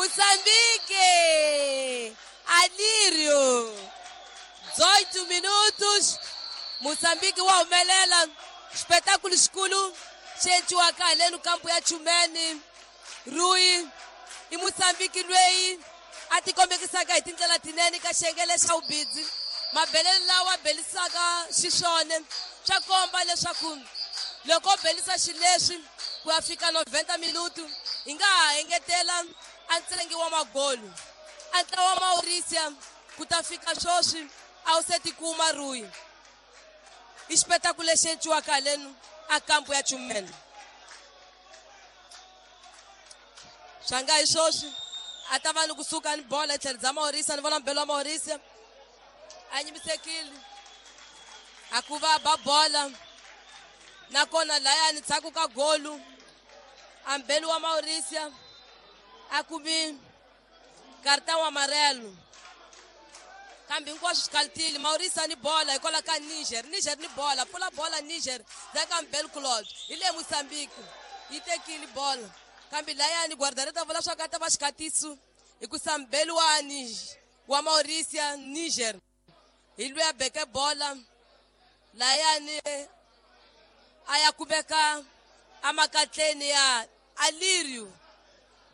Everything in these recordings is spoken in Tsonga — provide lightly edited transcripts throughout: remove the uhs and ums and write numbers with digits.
Moçambique! Alírio! 18 minutos. Moçambique wa humelela. Espetáculo xikulu xi endliwaka haleni kampu ya Chumene. Rui i Moçambique loyi a tikombekisaka hi tindlela tinene ka xiyenge lexa vubindzu. Mabelelo lawa belisaka xiswona swa komba leswaku loko belisa xileswi ku ya fika 90 minutu hi nga ha engetela a ntsengi wa magolu. A ntlawa wa Mauritius ku ta fika sweswi a wu se tikuma Rui. I xipetakulu lexi endliwaka haleni a kampu ya Chumene. Swa nga hi sweswi a ta va ni kusuka ni bola hi tlhelo bya Mauritius, ni vona mbelo wa Mauritius a nyimisekile a ku va ba bola nakona layani ndzhaku ka golu a mbelo wa Mauritius a kumi cartão amarelo. Kambe hinkwaswo swi kalitile. Mauritius ni bola hikwalaho ka Niger, Niger ni bola, pfula bola Niger ndzhaku ka Mbelo Claude hi le Mozambique yi tekile bola. Kambe layani guardareta vula swa ka ta va xikatiso hikusa mbelo wa Niger wa Mauritius Niger hi loyi a beke bola layani a ya kumeka emakatleni ya Alirio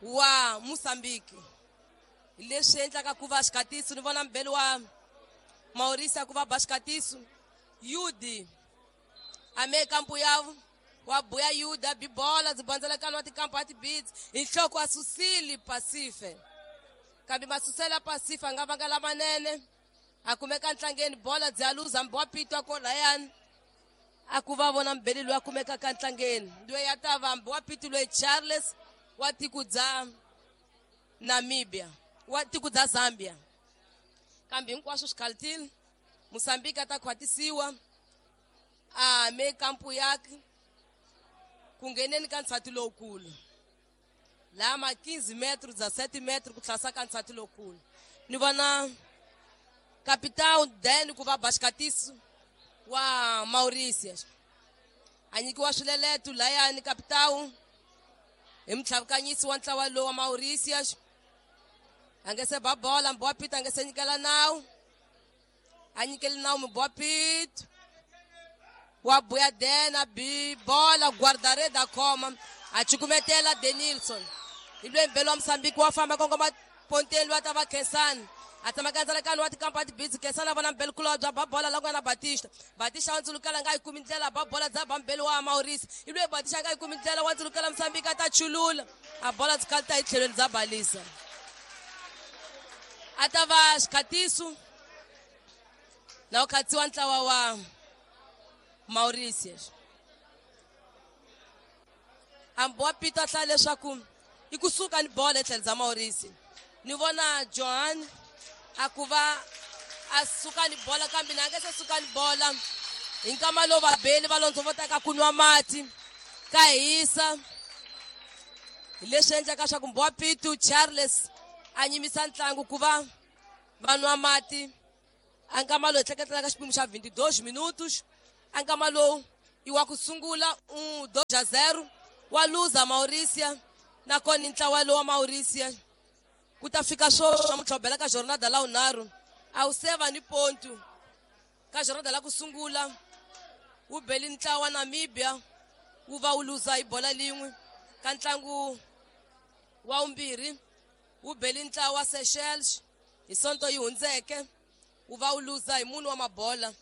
wa Mozambique. Leswi endlaka ku va xikatiso ni vona mbelo wa Mauritius ku va ba xikatiso. Yudi ame kampu ya wa buya Yuda bibola byi bandzelekano wa tikampu a tibidzi hi nhloko a susile Pasife. Kambe masuselo ya Pasife a nga vanga lamanene a kumeka ntlangeni bola byi aluza mbi wa pitwa ko layani a ku va vona mbeli loyi a kumekaka ntlangeni loyi a ta va mbi wa pitu loyi Charles wa tiko bya Namibia wa tiko bya Zambia. Kambe hinkwaswo swi khalitile. Mozambique a ta khwatisiwa a me kampu yakhe ku ngheneni ka ntshati lowukulu laha ma 15 metro bya 7 metro ku tlhasa ka ntshati lowukulu. Ni vona capitão Dan ku va ba xikatiso wa Mauritius a nyikiwa swileleto layani capitão hi mutlhavukanyisi wa ntlawa lowu wa Mauritius. A nge se ba bola Mbowa Pito a nge se nyikela nawu, a nyikeli nawu Mbowa Pito wa buya Dan a bi bola guardareda a khoma a cukumetela Denilson. Hi loyi mbelo wa Mozambique wa famba kongoma ponteni loyi a ta va Khensani a tsamaka ndzalakano wa tikampa a tibidzi. Khensani a vona mbelo kulobye a ba bola la ku nga na Batista. Batista wa ndzulukela nga yi kumi ndlela ba bola dza ba mbelo wa Mauritius. Hi loyi Batista nga yi kumi ndlela wa ndzulukela Mozambique a ta chulula a bola byi kalita hi tlhelweni bya balisa. A ta va xikhatiso na ku khatsiwa ntlawa wa Mauritius. Ambi wa Pito a hlaya leswaku i kusuka ni bola etlhelo bya Mauritius. Ni vona Johan a ku va a suka ni bola kambe na nge se suka ni bola hi nkama lowu vabeli va londzovotaka ku nwa mati ka hisa. Hi leswi endlaka swa ku Mbowa Pito Charles a nyimisa ntlangu ku va va nwa mati. A nkama lowu hi hleketelaka xipimo xa 22 minutos. A nkama lowu i wa ku sungula 2-0 wa luza Mauritius nakona ntlawa lowu wa Mauritius ku ta fika sweswi namuntlha u bela ka jornada la vunharhu a wu seva ni pontu. Ka jornada la ku sungula wu beli ntlawa wa Namibia wu va wu luza hi bola lin'we. Ka ntlangu wa vumbirhi wu beli ntlawa wa Seychelles hi sonto yi hundzeke wu va wu luza hi munhu wa mabola.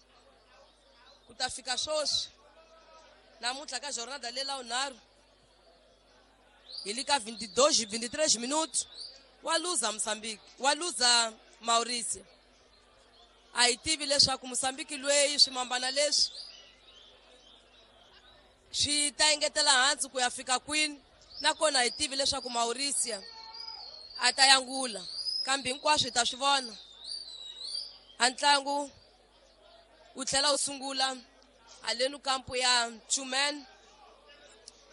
Ku ta fika sweswi namuntlha ka jornada leyi la vunharhu hi le ka 22 23 minutos wa luza Mozambique, wa luza Mauritius. A hi tivi leswaku Mozambique loyi swimambana leswi swi ta engetela hansi ku ya fika kwini, nakona hi tivi leswaku Mauritius a ta yangula, kambe hinkwaswo hi ta swi vona. A ntlangu wu tlhela wu sungula haleni kampu ya Chumene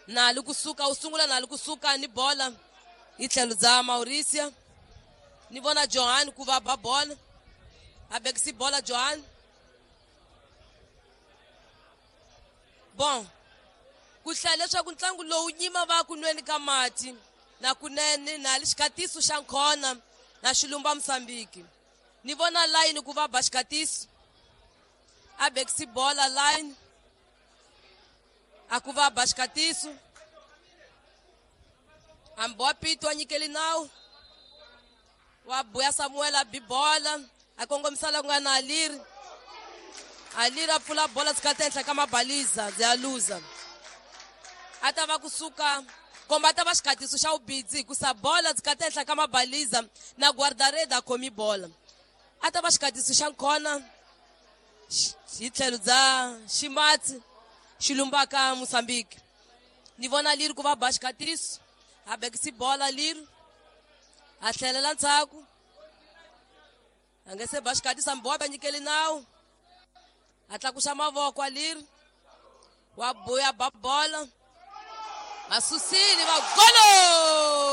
na kusuka wu sungula na kusuka ni bola hi tlhelo bya Mauritius. Ni vona Johan ku va ba bola a bekisi bola Johan. Bon, ku hlaya leswaku ntlangu lowu nyima va ku nweni ka mati. Na kunene na li xikatiso xa nkhona na xilumba Mozambique. Ni vona line ku va ba xikatiso. A bekisi bola line. A ku va ba xikatiso. Hambi wa pito a nyikeli nawu. Wa buya Samuel a bi bola. A kongomisa la ku nga na Aliri. Aliri a pfula bola tshikati ehenhla ka mabaliza bya luza. A ta va kusuka komba ta va xikatiso xa vubidzi hikusa bola tshikati ehenhla ka mabaliza na guardareda a khomi bola. A ta va xikatiso xa nkhona hi tlhelo bya ximatsi xi lumbaka Mozambique. Ni vona liri ku va ba xikatiso. A bekisi bola liri. A tlhelela ndzhaku. A nge se ba xikatiso hambi wa ba nyikeli nawu. A tlakusa mavoko a liri. Wa buya ba bola. Vasusile va golo!